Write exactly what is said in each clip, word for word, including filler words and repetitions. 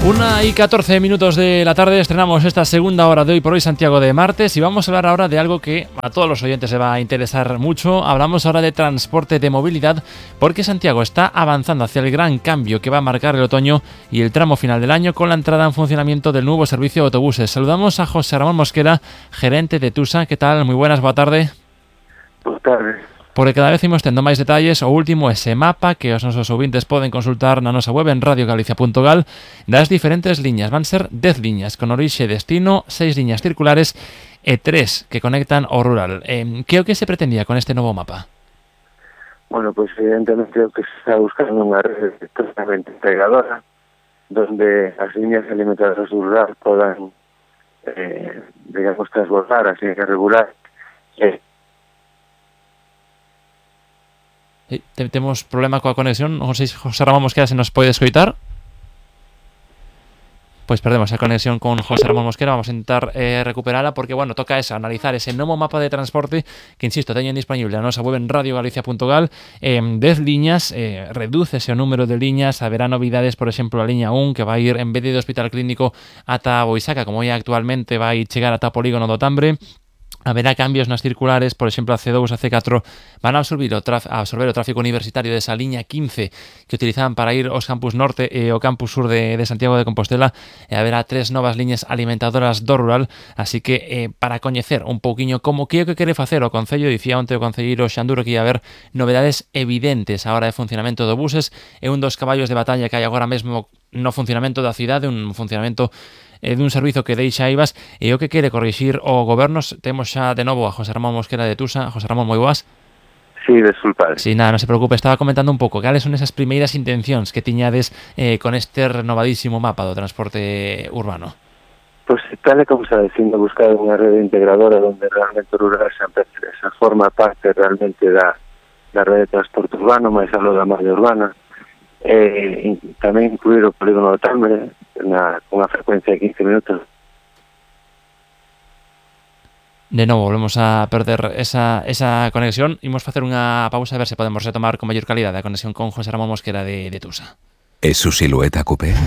Una y catorce minutos de la tarde estrenamos esta segunda hora de Hoy por Hoy Santiago de martes y vamos a hablar ahora de algo que a todos los oyentes se va a interesar mucho. Hablamos ahora de transporte, de movilidad, porque Santiago está avanzando hacia el gran cambio que va a marcar el otoño y el tramo final del año con la entrada en funcionamiento del nuevo servicio de autobuses. Saludamos a José Ramón Mosquera, gerente de Tusa. ¿Qué tal? Muy buenas, boa tarde. Boa tarde. Porque cada vez imos tendo máis detalles, o último ese mapa que os nosos ouvintes poden consultar na nosa web en radio galicia punto gal das diferentes liñas. Van ser dez liñas con orixe e destino, seis liñas circulares e tres que conectan ao rural. Eh, que é o que se pretendía con este novo mapa? Bueno, pues evidentemente o que se está buscando unha rede totalmente integradora donde as liñas alimentadoras do rural podan eh, digamos, transbordar as liñas regulares eh, Sí, temos problema coa conexión. Non sei se José Ramón Mosquera se nos pode escoitar. Pois perdemos a conexión con José Ramón Mosquera. Vamos a intentar eh, recuperala porque, bueno, toca esa, analizar ese novo mapa de transporte que, insisto, teñen disponible a nosa web en radio galicia punto gal. Eh, dez liñas, eh, redúcese o número de liñas, haberá novidades, por exemplo, a liña un que vai ir en vez de do Hospital Clínico ata Boisaca, como é actualmente, vai chegar ata o Polígono do Tambre. Haberá cambios nas circulares, por exemplo, a C dous e a C catro van a absorber o, traf, a absorber o tráfico universitario desa liña quince que utilizaban para ir aos campus norte e ao campus sur de, de Santiago de Compostela, e haberá tres novas liñas alimentadoras do rural, así que eh, para coñecer un pouquiño como que é o que quere facer o Concello, dicía onte o concelleiro Xanduro que ia haber novedades evidentes a hora de funcionamento do buses, é un dos caballos de batalla que hai agora mesmo no funcionamento da cidade, un funcionamento eh, dun servizo que deixa Aivas e o que quere corrixir o goberno. Temos xa de novo a José Ramón Mosquera de Tusa. José Ramón, moi boas. Sí, desculpad. Sí, nada, non se preocupe, estaba comentando un pouco cales son esas primeiras intencións que tiñades eh, con este renovadísimo mapa do transporte urbano. Pois pues, tal e como está dicindo, buscar unha rede integradora onde realmente o rural sempre esa forma parte realmente da, da rede de transporte urbano, máis algo da malha urbana. Eh, tamén incluir o Polígono do Tambre na, con unha frecuencia de quince minutos. De novo, volvemos a perder esa, esa conexión. Imos facer unha pausa a ver se podemos retomar con maior calidade a conexión con José Ramón Mosquera de, de Tusa. ¿Es su silueta coupé?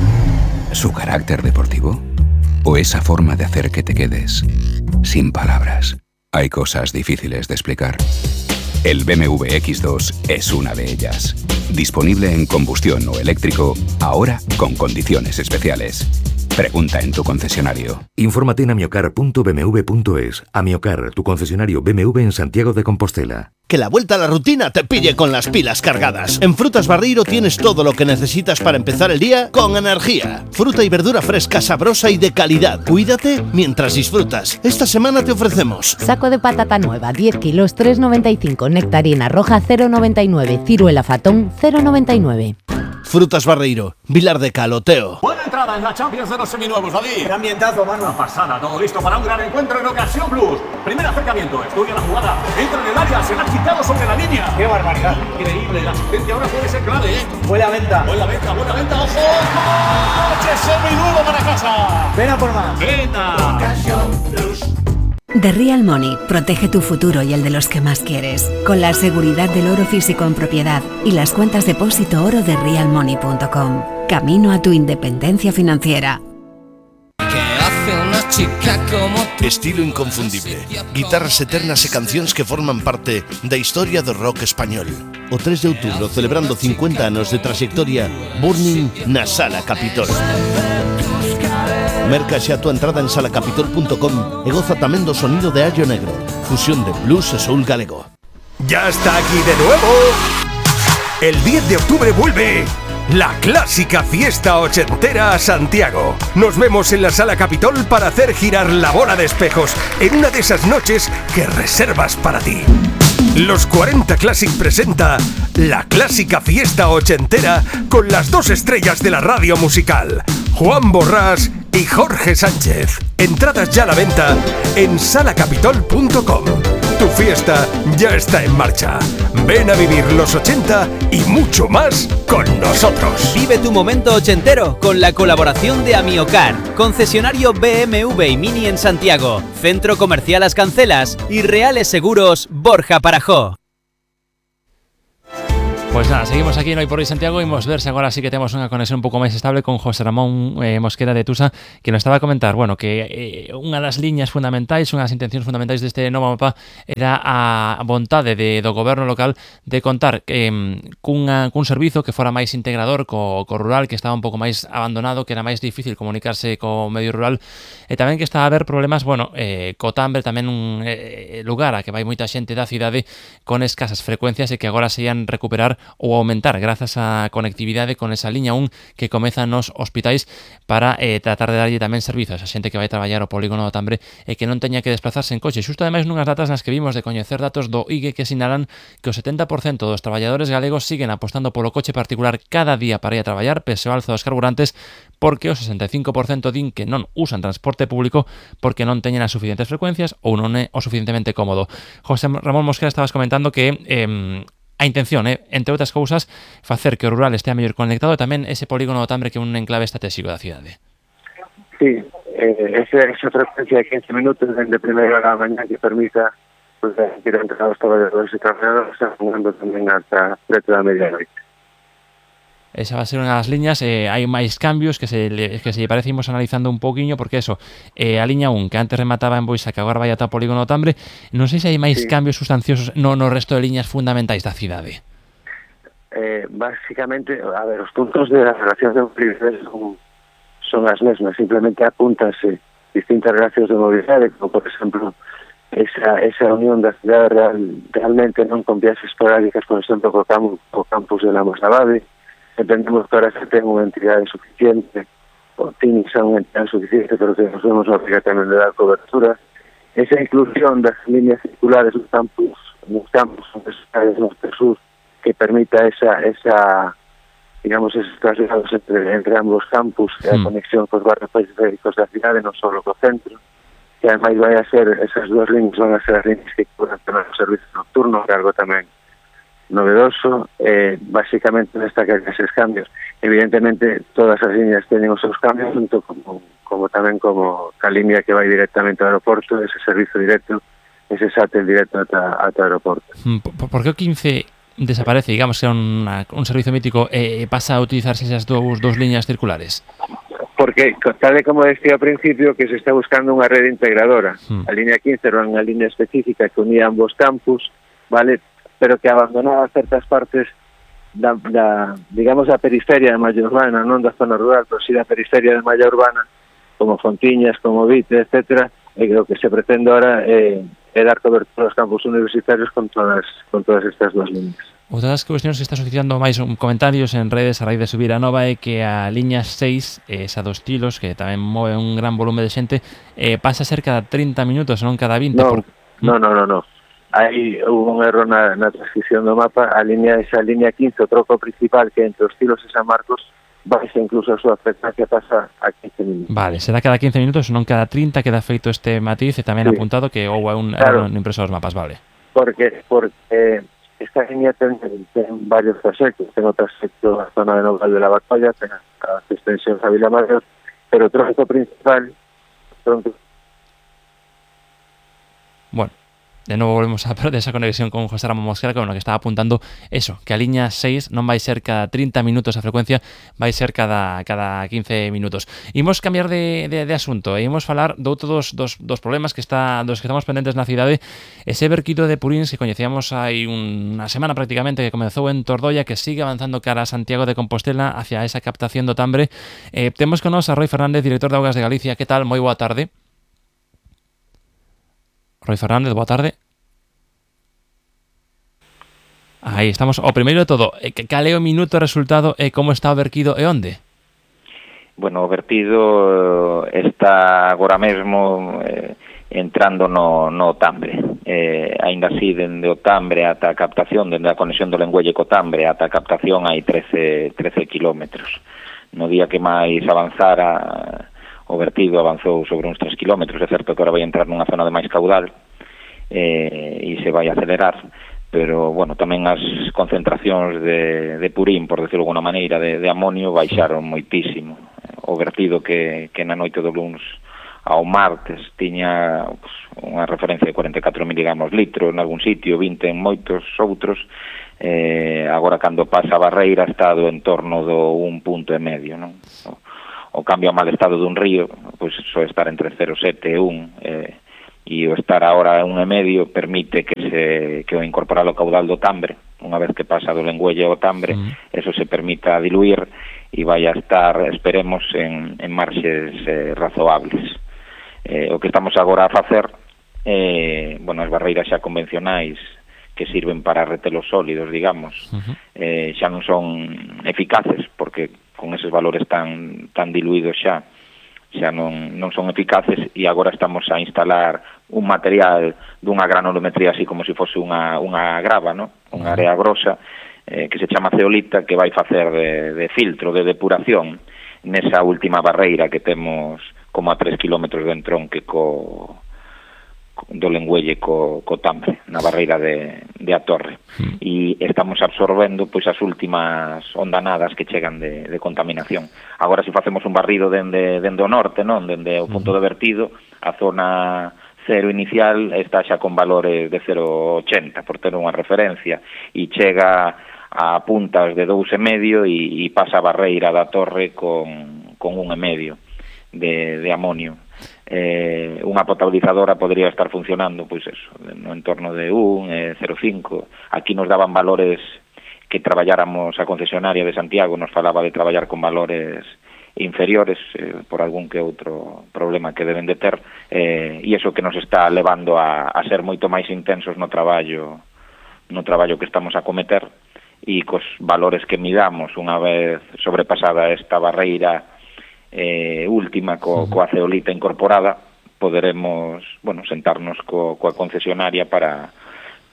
¿Su carácter deportivo? ¿O esa forma de hacer que te quedes sin palabras? Hay cosas difíciles de explicar. El B M W X dos es una de ellas. Disponible en combustión o eléctrico, ahora con condiciones especiales. Pregunta en tu concesionario. Infórmate en amiocar punto b m w punto es. Amiocar, tu concesionario B M W en Santiago de Compostela. Que la vuelta a la rutina te pille con las pilas cargadas. En Frutas Barreiro tienes todo lo que necesitas para empezar el día con energía. Fruta y verdura fresca, sabrosa y de calidad. Cuídate mientras disfrutas. Esta semana te ofrecemos saco de patata nueva, diez kilos, tres noventa y cinco. Nectarina roja, cero noventa y nueve. Ciruela fatón, cero noventa y nueve. Frutas Barreiro, Vilar de Caloteo. Buena entrada en la Champions de los seminuevos, David. ¡Qué ambientazo, mano! Una pasada, todo listo para un gran encuentro en Ocasión Plus. Primer acercamiento, estudia la jugada, entra en el área, se la ha quitado sobre la línea. ¡Qué barbaridad! Increíble, la asistencia ahora puede ser clave, ¿eh? Buena venta. Buena venta, buena venta, ojo. ¡Coche seminuevo para casa! Ven a por más. Venta. Ocasión Plus. The Real Money protege tu futuro y el de los que más quieres, con la seguridad del oro físico en propiedad y las cuentas depósito oro de real money punto com. Camino a tu independencia financiera. Estilo inconfundible, guitarras eternas e cancións que forman parte da historia do rock español. O tres de outubro, celebrando cincuenta anos de trayectoria, Burning na Sala Capitol. Merca xa a tua entrada en sala capitol punto com e goza tamén do sonido de Allo Negro, fusión de blues e soul galego. ¡Ya está aquí de nuevo! El diez de octubre vuelve la clásica fiesta ochentera a Santiago. Nos vemos en la Sala Capitol para hacer girar la bola de espejos en una de esas noches que reservas para ti. Los cuarenta Classic presenta la clásica fiesta ochentera con las dos estrellas de la radio musical, Juan Borrás y Jorge Sánchez. Entradas ya a la venta en sala capitol punto com. Tu fiesta ya está en marcha. Ven a vivir los ochenta y mucho más con nosotros. Vive tu momento ochentero con la colaboración de Amiocar, concesionario B M W y Mini en Santiago, Centro Comercial Las Cancelas y Reales Seguros Borja Parajó. Pois nada, seguimos aquí no Hoy por Hoy Santiago. Imos ver se agora sí que temos unha conexión un pouco máis estable con José Ramón eh, Mosquera de Tusa, que nos estaba a comentar, bueno, que eh, unha das liñas fundamentais, unha das intencións fundamentais deste novo mapa era a vontade de, do goberno local de contar eh, cunha, cun servizo que fora máis integrador co, co rural, que estaba un pouco máis abandonado, que era máis difícil comunicarse co medio rural, e tamén que estaba a haber problemas, bueno, eh, co Tambre, tamén un eh, lugar a que vai moita xente da cidade con escasas frecuencias e que agora se ian recuperar ou aumentar grazas á conectividade con esa liña un que comeza nos hospitais para eh, tratar de darlle tamén servizos a xente que vai traballar o polígono do Tambre e que non teña que desplazarse en coche. Xusto ademais nunhas datas nas que vimos de coñecer datos do I G E que sinalan que o setenta por cento dos traballadores galegos siguen apostando polo coche particular cada día para ir a traballar pese ao alza dos carburantes, porque o sesenta e cinco por cento din que non usan transporte público porque non teñen as suficientes frecuencias ou non é o suficientemente cómodo. José Ramón Mosquera, estabas comentando que eh, a intención é, eh, entre outras cousas, facer que o rural estea mellor conectado e tamén ese polígono do Tambre que é un enclave estratégico da cidade. Sí, eh, esa, esa frecuencia de quince minutos dende primeira hora da mañá que permita pues, ir entre os traballadores e traballadoras andando tamén ata preto da medianoite. Esa va a ser unha das liñas, eh, hai máis cambios que se le, que se lle parece imos analizando un pouquiño, porque eso, eh, a liña un que antes remataba en Boisa, que agora vai ata o polígono do Tambre, non sei se hai máis sí. cambios sustanciosos no, no resto de liñas fundamentais da cidade. Eh, básicamente, a ver, os puntos de las relacións de movilidade son, son as mesmas, simplemente apúntanse distintas relacións de mobilidade, como por exemplo esa, esa unión da cidade real, realmente non con vías esporádicas, por exemplo, co, camp, co campus de la Mosnavade. Entendemos que ahora se ten unha entidade suficiente, o tiene xa unha entidade suficiente, pero que nos vemos obrigatoriamente de dar cobertura. Esa inclusión das líneas circulares nos campus, nos campus universitarios norte sur, que permita esa, esa digamos, esos traslados entre, entre ambos campus, sí. a conexión cos barrios periféricos da cidade, non só co centro, que ademais vai a ser, esas dúas líneas van a ser as líneas que cubran o servicio nocturno, que algo tamén novedoso, eh, básicamente destaca esos cambios. Evidentemente todas as líneas teñen os seus cambios, junto como, como tamén como a línea que vai directamente ao aeroporto, ese servizo directo, ese sátel directo ata, ata o aeroporto. Por, por que o quince desaparece, digamos que é un, un servizo mítico e eh, pasa a utilizarse esas dous, dous líneas circulares? Porque, tal e como decía ao principio, que se está buscando unha rede integradora. Hmm. A línea quince era unha línea específica que unía ambos campus, vale, pero que abandonaba certas partes da, da, digamos, da periferia de malla urbana, non da zona rural, pero sí da periferia de malla urbana, como Fontiñas, como Vite, etcétera, e o que se pretende ahora é, é dar cobertura aos campus universitarios con todas, con todas estas duas líneas. Outra das cuestións que está suscitando máis comentarios en redes a raíz de subir a nova é que a liña seis, esa dos estilos, que tamén move un gran volume de xente, eh, pasa a ser cada trinta minutos, non cada vinte. No, por... no, no, no, no. Aí hubo un erro na, na transcripción do mapa. A línea, esa línea quince, o troco principal que entre os Tilos e San Marcos, baixa incluso a súa frecuencia, pasa a quince minutos. Vale, será cada quince minutos, non cada trinta, queda feito este matiz e tamén sí. apuntado que ou é un claro. erro no impreso dos mapas, vale. Porque, porque esta línea ten, ten varios proxectos, ten o proxecto a zona de Noval de la Batolla, ten as extensións a Vila Mayor, pero o troco principal... Tronco... Bueno. De novo volvemos a perder esa conexión con José Ramón Mosquera, que, bueno, que estaba apuntando eso, que a liña seis non vai ser cada trinta minutos a frecuencia, vai ser cada cada quince minutos. Imos cambiar de, de, de asunto e imos falar de outro dos, dos, dos problemas que está dos que estamos pendentes na cidade, ese verquido de purins que coñecíamos hai unha semana prácticamente, que comezou en Tordoia, que sigue avanzando cara a Santiago de Compostela hacia esa captación do Tambre. Eh, temos con nos a Roi Fernández, director de Augas de Galicia. Que tal? Moi boa tarde. Roi Fernández, boa tarde. Aí estamos. O primeiro de todo, cal é o minuto resultado e como está o verquido e onde? Bueno, o vertido está agora mesmo eh, entrando no, no Tambre. Eh, ainda así, dende o Tambre ata a captación, dende a conexión do Lengüelle co Tambre ata a captación hai trece kilómetros. No día que máis avanzara o vertido avanzou sobre uns tres kilómetros, é certo que agora vai entrar nunha zona de máis caudal eh, e se vai acelerar, pero, bueno, tamén as concentracións de, de purín, por decirlo de alguna maneira, de, de amonio, baixaron moitísimo. O vertido que, que na noite do luns ao martes tiña pues, unha referencia de cuarenta e catro miligramos litro en algún sitio, vinte en moitos outros, eh, agora cando pasa a barreira está do entorno do un punto e medio, non? O, o cambio ao mal estado dun río, pois pues, soe estar entre cero coma sete e un, eh, e o estar agora a un e medio permite que se que o incorporar o caudal do Tambre, unha vez que pasa do Lengüelle ao Tambre, mm. eso se permita diluir e vai a estar, esperemos, en, en marxes eh, razoables. Eh, o que estamos agora a facer, eh, bueno, as barreiras xa convencionais que sirven para retelos sólidos, digamos, uh-huh. eh, xa non son eficaces, porque con eses valores tan tan diluídos xa, xa non, non son eficaces, e agora estamos a instalar un material dunha granulometría así como se fose unha, unha grava, ¿no? Unha área grosa, eh, que se chama zeolita, que vai facer de, de filtro, de depuración, nesa última barreira que temos como a tres kilómetros de entronque co, co, do Lengüelle co, co Tambre, na barreira de, de a Torre. Mm. E estamos absorbendo pois as últimas ondanadas que chegan de, de contaminación. Agora, se facemos un barrido dende, dende o norte, non, dende o punto mm. de vertido, a zona cero inicial está xa con valores de cero coma ochenta, por ter unha referencia, e chega a puntas de dous e medio e, e pasa a barreira da Torre con, con un e medio de, de amonio. Eh, unha potabilizadora podría estar funcionando, pois eso, no entorno de un, eh, cero coma cinco. Aquí nos daban valores que traballáramos, a concesionaria de Santiago nos falaba de traballar con valores inferiores, eh, por algún que outro problema que deben de ter, eh, e iso que nos está levando a, a ser moito máis intensos no traballo no traballo que estamos a cometer, e cos valores que midamos unha vez sobrepasada esta barreira eh, última co, coa zeolita incorporada, poderemos, bueno, sentarnos co, coa concesionaria para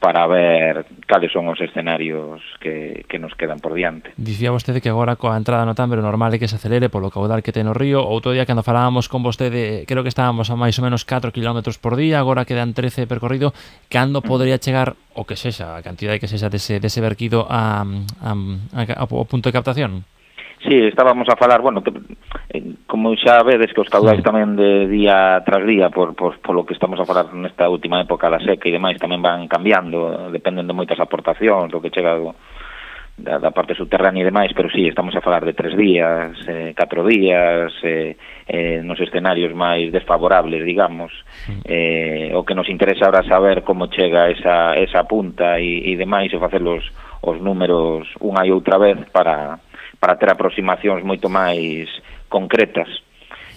para ver cales son os escenarios que, que nos quedan por diante. Dicía vostede que agora coa entrada no Tambre normal é que se acelere polo caudal que ten o río. Outro día cando falábamos con vostede, creo que estábamos a máis ou menos catro kilómetros por día, agora quedan trece percorrido. Cando podría chegar o que sexa, a cantidade que sexa dese, dese verquido a, a, a, ao punto de captación? Sí, estábamos a falar, bueno, que, eh, como xa vedes que os caudais sí. tamén de día tras día, por, por, por lo que estamos a falar nesta última época da seca e demais, tamén van cambiando, dependen de moitas aportacións, do que chega do, da, da parte subterránea e demais, pero sí, estamos a falar de tres días, eh, catro días, eh, eh, nos escenarios máis desfavorables, digamos. Sí. Eh, o que nos interesa ahora saber como chega esa, esa punta e, e demais, e facer os, os números unha e outra vez para... para ter aproximacións moito máis concretas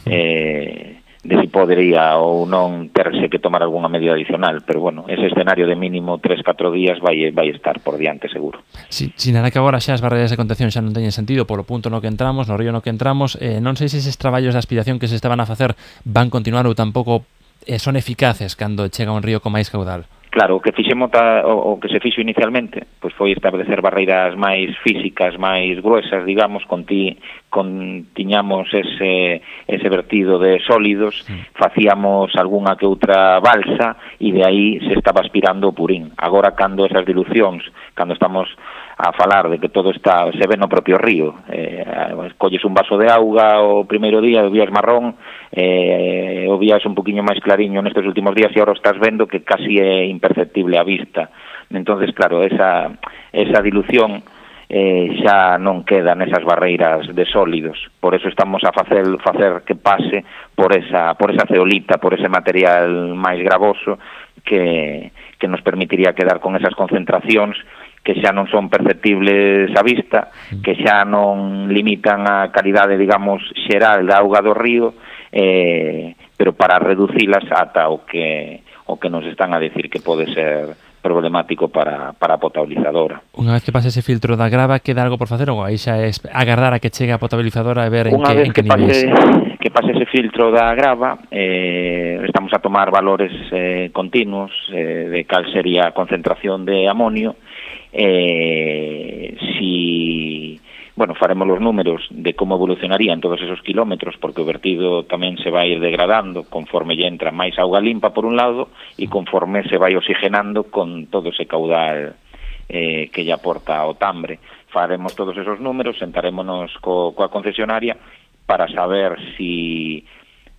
eh, de si podería ou non terse que tomar algunha medida adicional, pero bueno, ese escenario de mínimo tres a catro días vai vai estar por diante seguro. Si, sin nada que agora xa as barreiras de contención xa non teñen sentido polo punto no que entramos, no río no que entramos, eh, non sei se eses traballos de aspiración que se estaban a facer van continuar ou tampouco eh, son eficaces cando chega un río con máis caudal. Claro, o que fixemos ta, o, o que se fixo inicialmente, pois foi establecer barreiras máis físicas, máis gruesas, digamos, con ti con tiñamos ese ese vertido de sólidos, sí. facíamos algunha que outra balsa e de aí se estaba aspirando o purín. Agora cando esas dilucións, cando estamos a falar de que todo está se ve no propio río, eh, colles un vaso de auga o primeiro día, o vías marrón, eh, o vías un poquinho máis clariño nestes últimos días e agora estás vendo que casi é imperceptible a vista. Entonces, claro, esa esa dilución eh, xa non queda nesas barreiras de sólidos, por eso estamos a facer facer que pase por esa por esa zeolita, por ese material máis gravoso que que nos permitiría quedar con esas concentracións que xa non son perceptibles á vista, que xa non limitan a calidade, digamos, xeral da auga do río, eh, pero para reducilas ata o que o que nos están a decir que pode ser problemático para, para a potabilizadora. Unha vez que pase ese filtro da grava, queda algo por facer ou aí xa é agardar a que chegue a potabilizadora e ver en Unha que, vez en que, que pase, niveis? que pase ese filtro da grava, eh, estamos a tomar valores eh, continuos eh, de cal sería a concentración de amonio. Eh, si, bueno, faremos los números de como evolucionaría en todos esos kilómetros, porque o vertido tamén se vai ir degradando conforme lle entra máis auga limpa por un lado e conforme se vai oxigenando con todo ese caudal eh, que lle aporta o Tambre. Faremos todos esos números, sentarémonos co, coa concesionaria para saber si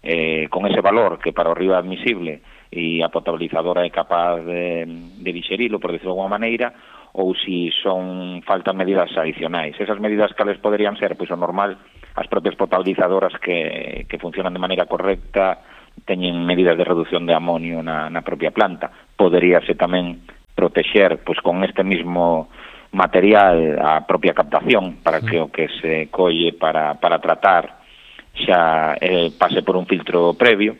eh, con ese valor que para o río é admisible e a potabilizadora é capaz de, de digerilo, por decirlo de alguma maneira, ou si son faltan medidas adicionais. Esas medidas cales poderían ser, pois o normal, as propias potabilizadoras que, que funcionan de maneira correcta teñen medidas de reducción de amonio na, na propia planta. Poderíase tamén protexer pois con este mismo material a propia captación para que o que se colle para, para tratar xa eh, pase por un filtro previo,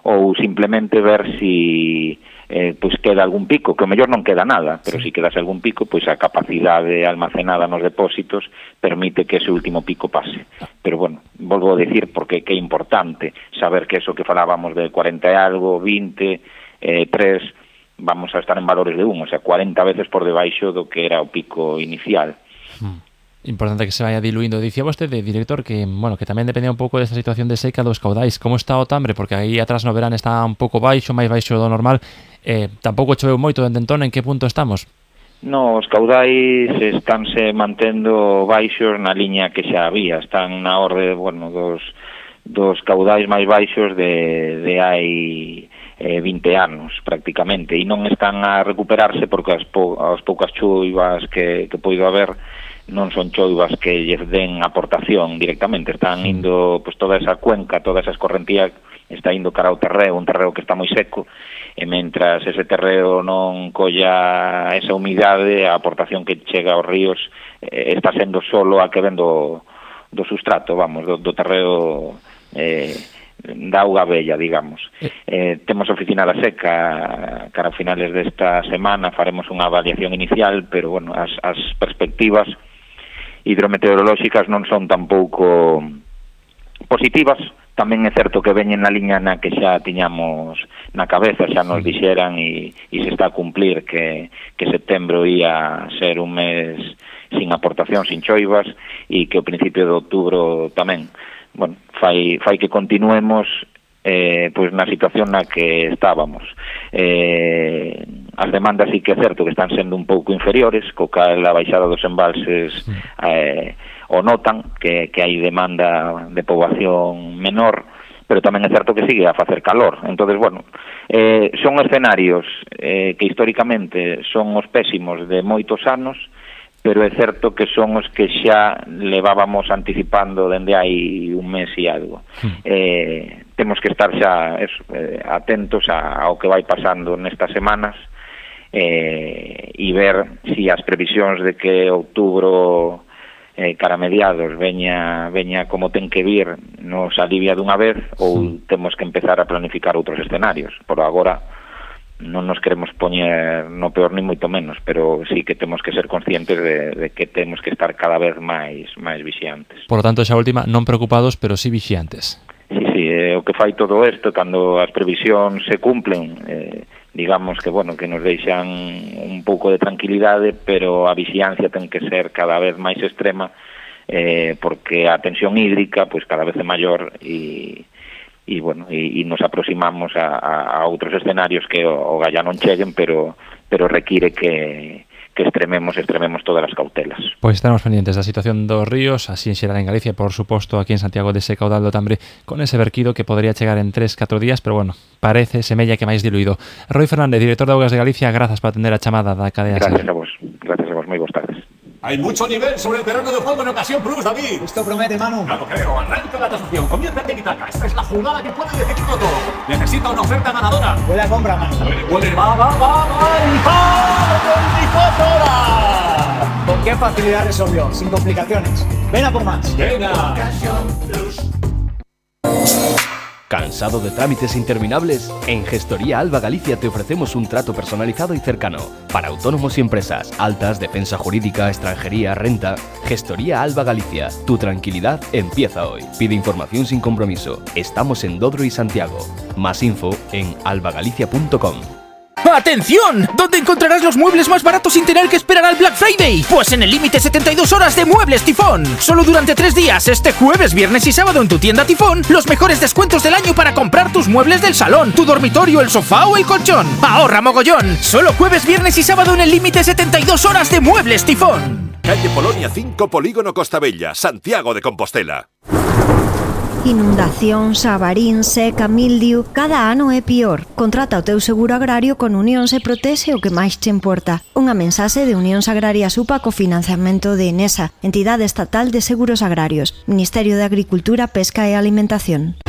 ou simplemente ver si eh, pois queda algún pico, que o mellor non queda nada, pero si quedase algún pico, pois a capacidade almacenada nos depósitos permite que ese último pico pase. Pero bueno, volvo a decir porque que é importante saber que eso que falábamos de cuarenta e algo, vinte, eh, tres, vamos a estar en valores de un, o sea, cuarenta veces por debaixo do que era o pico inicial. Hmm. Importante que se vaya diluindo. Dicía vostede, director, que bueno, que tamén dependía un pouco desta situación de seca dos caudais. Como está o Tambre? Porque aí atrás no verán está un pouco baixo, máis baixo do normal. Eh, tampouco choveu moito dende entón. En que punto estamos? No, os caudais estánse mantendo baixos na liña que xa había. Están na orde, bueno, dos, dos caudais máis baixos de, de hai eh, vinte anos, prácticamente. E non están a recuperarse porque as, po, as poucas choivas que, que poido haber non son choivas que lle den aportación directamente, están indo, pois toda esa cuenca, toda esa escorrentía está indo cara ao terreo, un terreo que está moi seco, e mentras ese terreo non colla esa humidade, a aportación que chega aos ríos eh, está sendo solo a que ven do, do sustrato, vamos, do, do terreo eh, da auga bella, digamos. Eh, temos oficina da seca cara a finales desta semana, faremos unha avaliación inicial, pero bueno, as, as perspectivas hidrometeorolóxicas non son tampouco positivas. Tamén é certo que veñen na liña na que xa tiñamos na cabeza, xa nos dixeran e, e se está a cumplir que, que setembro ia ser un mes sin aportación, sin choivas, e que o principio de outubro tamén. Bueno, fai, fai que continuemos eh, pois na situación na que estábamos. Eh, as demandas sí que é certo que están sendo un pouco inferiores, co cal a baixada dos embalses eh, o notan, que, que hai demanda de poboación menor, pero tamén é certo que sigue a facer calor. Entonces, bueno, eh, son escenarios eh, que históricamente son os pésimos de moitos anos, pero é certo que son os que xa levábamos anticipando dende hai un mes e algo. Mm. Eh, temos que estar xa eso, eh, atentos a, ao que vai pasando nestas semanas eh, e ver si as previsións de que outubro eh, cara mediados veña, veña como ten que vir nos alivia dunha vez ou mm. temos que empezar a planificar outros escenarios. Por agora non nos queremos poñer no peor ni moito menos, pero sí que temos que ser conscientes de, de que temos que estar cada vez máis máis vixiantes. Por lo tanto, xa última, non preocupados, pero sí vixiantes. Sí, sí, eh, o que fai todo isto, cando as previsións se cumplen, eh, digamos que, bueno, que nos deixan un pouco de tranquilidade, pero a vixiancia ten que ser cada vez máis extrema, eh, porque a tensión hídrica, pois cada vez é maior e... e bueno, e, e nos aproximamos a, a, a outros escenarios que o, o Galla non cheguen, pero pero require que, que extrememos, extrememos todas as cautelas. Pois estaremos pendientes da situación dos ríos, así en xeral en Galicia, por suposto aquí en Santiago dese caudal do Tambre, con ese verquido que podría chegar en tres, catro días, pero bueno, parece, semella que máis diluído. Roi Fernández, director de Augas de Galicia, grazas por atender a chamada da cadea. Gracias a vos, gracias a vos, moi boas tardes. Hay mucho nivel sobre el terreno de juego en Ocasión Plus, David. Esto promete, Manu. Ya lo creo. Arranca la transacción. Comienza el tiki-taka. Esta es la jugada que puede decidirlo todo. Necesita una oferta ganadora. Puede a compra, Manu. Puede, puede. Va, va, va, va. ¡El gol! veinticuatro horas! Con qué facilidad resolvió. Sin complicaciones. Ven a por más. Venga. Ocasión Plus. ¿Cansado de trámites interminables? En Gestoría Alba Galicia te ofrecemos un trato personalizado y cercano para autónomos y empresas, altas, defensa jurídica, extranjería, renta. Gestoría Alba Galicia, tu tranquilidad empieza hoy. Pide información sin compromiso. Estamos en Dodro y Santiago. Más info en albagalicia punto com. ¡Atención! ¿Dónde encontrarás los muebles más baratos sin tener que esperar al Black Friday? Pues en el límite setenta y dos horas de Muebles Tifón. Solo durante tres días, este jueves, viernes y sábado en tu tienda Tifón, los mejores descuentos del año para comprar tus muebles del salón, tu dormitorio, el sofá o el colchón. ¡Ahorra mogollón! Solo jueves, viernes y sábado en el límite setenta y dos horas de Muebles Tifón. Calle Polonia cinco, Polígono Costa Bella, Santiago de Compostela. Inundacións, avarín, seca, mildiu, cada ano é pior. Contrata o teu seguro agrario con Unión Se Protexe o que máis te importa. Unha mensaxe de Unión Agrarias U P A co financiamento de Enesa, Entidade Estatal de Seguros Agrarios, Ministerio de Agricultura, Pesca e Alimentación.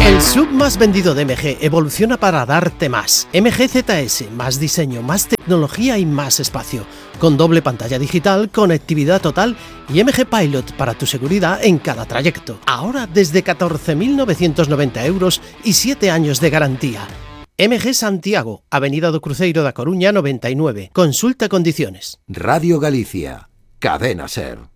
El sub más vendido de M G evoluciona para darte más. M G Z S, más diseño, más tecnología y más espacio. Con doble pantalla digital, conectividad total y M G Pilot para tu seguridad en cada trayecto. Ahora desde catorce mil novecientos noventa euros y siete años de garantía. M G Santiago, Avenida do Cruceiro da Coruña noventa y nueve. Consulta condiciones. Radio Galicia, Cadena Ser.